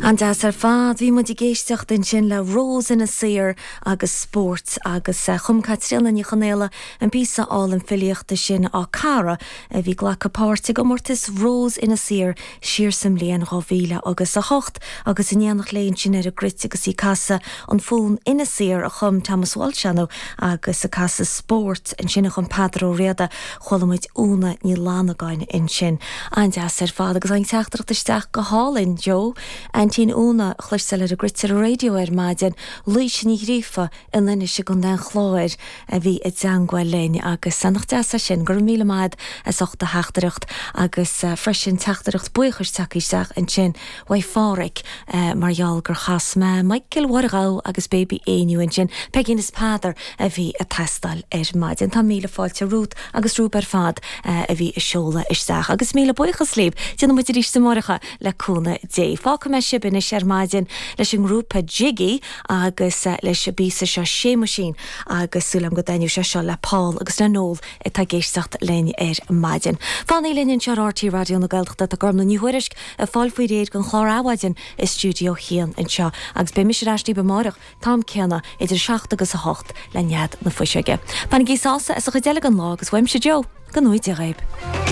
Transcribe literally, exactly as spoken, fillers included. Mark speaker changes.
Speaker 1: An-deas ar fad bhí muid ag éisteacht ansin le Rós Inis Oírr agus spórt agus eh, chum Caitríona Ní Chonaola an píosa álainn filíochta sin á cara a bhí ag glacadh páirt i gcomórtas Rós Inis Oírr siar sa mbliain dhá mhíle agus a hocht agus in éineacht léi ansin ar an gcruit agus í ag casadh an fonn Inis Oírr a chum Thomas Walsh agus ag casadh spórt ansin a chum Peadar Ó Riada chuala muid Úna Ní Fhlannagáin ansin. An-deas ar fad agus an teachtaireacht isteach go hálainn Joe Aintín Úna a chloisteáil ar an gcruit ar an raidió ar maidin, Laoise Ní Ghríofa in Inis i gContae an Chláir a bhí i dteagmháil linn agus nach deas é sin go raibh míle maith as ucht do theachtaireacht agus uh, freisin teachtaireacht buíochais tagtha isteach ansin uaidh Pháraic uh, mar gheall gur chas mé Michael Wargá agus Baby Éinniú ansin Peigín is Peadar a bhí ag teastáil ar maidin. Tá míle fáilte Ruth agus Rúb ar fad uh, a bhí ag seoladh isteach agus míle buíochas libh Déanfaidh muid arís amárach le cúnamh Dé. Fágfaidh mé sibh anois ar maidin leis an ngrúpa Jiggy agus uh, leis an bpíosa seo Séamuisín agus súil agam go dtaitneoidh sé seo le Paul agus le Noel atá ag éisteacht linn ar maidin. Fanaigí linn anseo R T Raidió na Gaeltachta tá Gormfhlaith Ní Thuairisg ag fáil faoi réir don chlár Adhmhaidin i stiúideo a haon anseo agus beidh mise ar ais amárach am céanna idir seacht agus a hocht le Nead na Fuiseoige. Bainigí sásamh as an chuid eile den lá agus uaimse Joe go ngnóthaí Dia dhaoibh.